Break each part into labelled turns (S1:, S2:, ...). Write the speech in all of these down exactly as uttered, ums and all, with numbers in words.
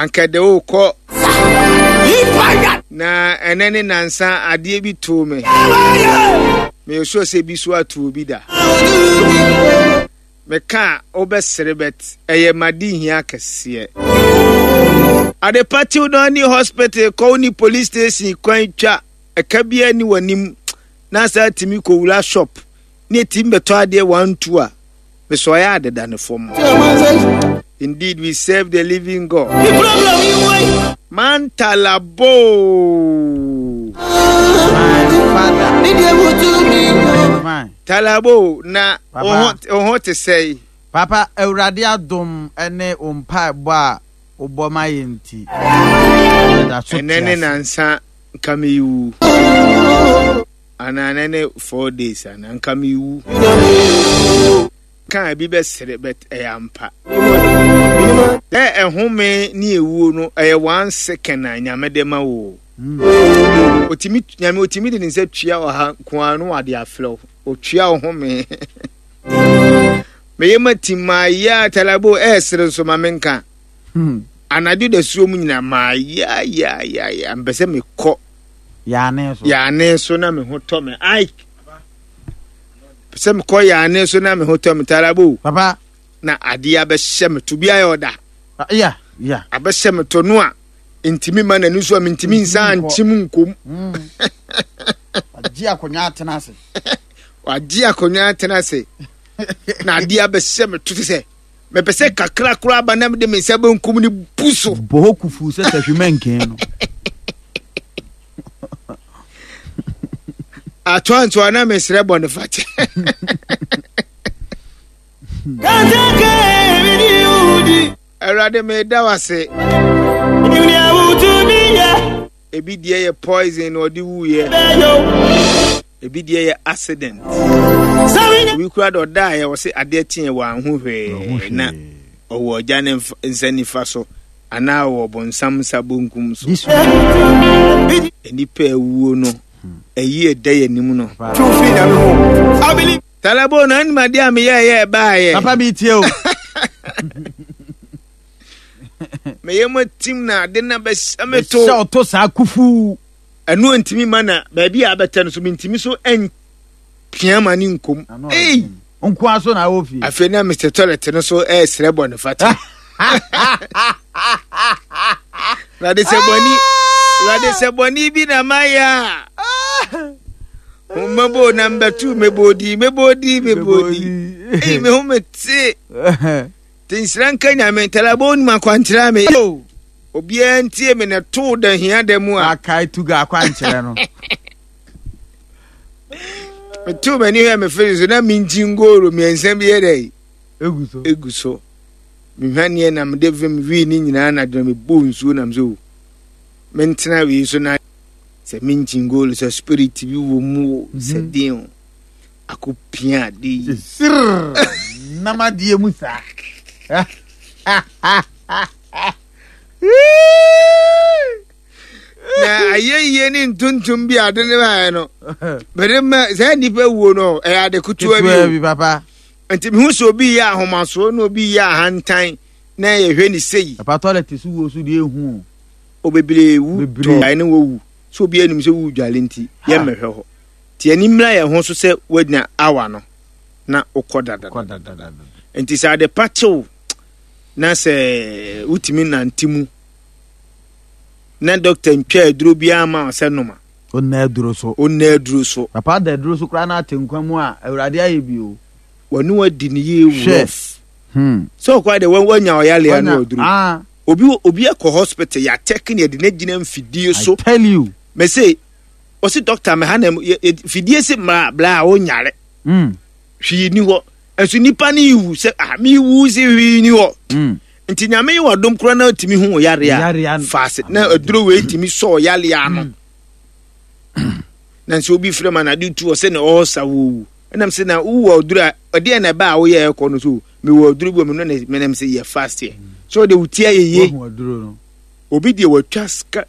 S1: Anka de wokɔ na ɛnɛ ne nansa adeɛ bi too me. Meyɛ sure sɛ bi so ato obi da. Meka a wobɛsere, but ɛyɛ made hia kɛseɛ. Adepa tiw no ani hospital kɔ wo ne police station kwan twa ɛka biara ni w'anim na saa tumi kɔwura shop ne ɛtumi bɛtɔ adeɛ one two a mesɔ ɔyɛ adeda ne fam. Indeed, we serve the living God. Mantalabo. Talabo na wo ho te sɛe?
S2: Papa, Awurade adom ne wo mpaebɔ a wobɔ ma yɛ nti, yɛda so te
S1: Ɛnɛ ne
S2: ase.
S1: nansa nka mewu anaa ɛnɛ ne four days anaa nka mewu ka ebi bɛsere, but ɛyɛ ampa dɛ ɛhome ne ewuo no ɛyɛ one second a Nyame de ma wo. Otimi Nyame otimi de ne nsa tua ɔha nko ara no wade afrɛ wo, otua wo home. Meyɛ ma ti maa yɛ a talabo ɛɛsere nso ma menka.
S2: Hmm.
S1: Anadwo da suo mu nyina maa yɛ yɛ yɛ yɛ mpɛ sɛ mekɔ
S2: Yaane so.
S1: Yaane so na me ho tɔ me ai sɛ mekɔ yaane so na me ho tɔ me, talabo.
S2: Papa.
S1: Na adeɛ abɛhyɛ me to bi ayɛ ɔda.
S2: Ah, ya ya
S1: Abɛhyɛ me to no a ntimi ma n'ani so a mentimi nsa
S2: Ntimi nkɔ.
S1: nkyim nkom.
S2: Mm. Wagye akonnwa atena ase.
S1: Wagye akonnwa atena ase na adeɛ abɛhyɛ me to te sɛ mepɛ sɛ kakra koraa ba na mede me nsa benkum ne bu so.
S2: Bɔ hɔ kufu sɛ sahwima nkɛn no.
S1: Atoa ntoa na mesrɛ bɔne fakyɛ. Awurade, meda wo ase. Ebi deɛ yɛ poison na ɔde wuyɛ, ebi deɛ yɛ accident, obi kura de ɔda a yɛ wɔse adeɛ kyeɛ wɔ anho hwee na ɔwɔ ɔgya ne nfa- nsa nifa so anaa ɔwɔ bɔnsam nsa bonkum so. Nnipa awuo no ɛyi ɛda yɛ anim no. Talabo na anim adeɛ a meyɛɛyɛ ɛbaayɛ.
S2: Papa, mi tie o.
S1: Meyɛ mu atim na ade na bɛhyɛ me to.
S2: Hyɛ ɔto saa kufu.
S1: Ɛno ntumi ma na baabi a abɛtɛ no so mentumi so ɛmpia ma ne nkom. Ei!
S2: Nkoa so na awɔ fie.
S1: Afei na Mister Toilet no so ɛresrɛ bɔ ne fata. Awurade, sɛ bɔne, Awurade, sɛ bɔne bi na mayɛ a mmɛbɔ na mbɛtu mɛbɔdi mɛbɔdi mɛbɔdi. Ei, me ho mete te. Nhyira nka Nyame. Ntalabɔ onim akwankyerɛ me. Obiara ntie me na too da hia da mu a
S2: akae tuga akwankyerɛ no.
S1: Metuu m'ani hwɛ me firi so na menkyi ngoro mmiɛnsa bi yɛ dɛ
S2: egu so.
S1: Egu so mehwaneɛ na mede vim wii ne nyinaa na dwena mebɔɔ nsuo nam sɛ o mentena wei so na sɛ menkyi ngoro sɛ spirit bi wɔ mu o, sɛ den o akɔpia ade yi.
S2: Sirr nam adeɛ mu saa.
S1: Na ayɛyie ne ntontom bi ade ne baeɛ no mede ma saa nnipa wuo no ɛyɛ ade ketewa bi
S2: ketewa
S1: o.
S2: Bi papa.
S1: Nti mehu sɛ obi yɛ ahomasoɔ na obi yɛ ahantan na yɛhwɛ ne sei.
S2: Papa, toilet so wuo so deɛ ehu o.
S1: O bebree wu.
S2: Bebree.
S1: Tɔ ne wɔwu sɛ obi anim sɛ wu dwale nti yɛmmɛhwɛ hɔ nti ani mmra yɛn ho so sɛ woanya awa no na wokɔ dada.
S2: Kɔ dadadada.
S1: Nti sɛ ade pa kyew na sɛ wotumi nante mu na dɔkta ntwa aduro biara ma wo sɛ noma.
S2: Onna aduro so.
S1: Ɔnna aduro so.
S2: Papa, da aduro so koraa na ate nkwa mu a, Awurade ayɛ bi o.
S1: Wɔne wadi ne yie.
S2: Hwɛ.
S1: Wurɔf
S2: Hmm.
S1: sɛ ɔkɔ de wanya ɔyale ano
S2: Wanya-
S1: aduro.
S2: Ah,
S1: obi obi akɔ hospital yɛatɛke ne yɛde ne gyina mfidie so.
S2: I tell you.
S1: Mɛ ɔsi dɔkta mɛ ha na yɛ- yɛ- fidie si mmara bla a ɔnyare.
S2: Mm.
S1: Hwee ni hɔ nso nipa ne iwu sɛ ah mi wu si hwee ni hɔ.
S2: Mm.
S1: Nti Nyame yi wadom kora na otumi hu yare a
S2: Yare a-
S1: faase na aduro wei tumi sɔɔ yare ano na nso obi fira ma na ade tu ɔsɛ na ɔɔsa wɔwu ɛnam sɛ na wowɔ aduro a ɛdeɛ na ɛba a woyɛ ɛkɔ no so mewɔ aduro bi wɔ me no na menam sɛ yɛ fast yɛ so ɔde wo ti ayɛ yie.
S2: Wahu aduro no.
S1: Obi deɛ watwa sika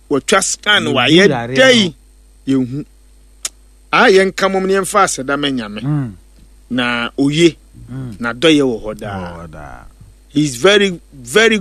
S1: watwa scan
S2: Yɛhu
S1: wayɛ
S2: yare
S1: dɛn yɛhu a yɛnka mom ne yɛmfa aseda ma Nyame.
S2: Mm.
S1: Na oye
S2: Mm.
S1: na dɔyɛ wɔ hɔ daa.
S2: Oh, daa.
S1: He is very very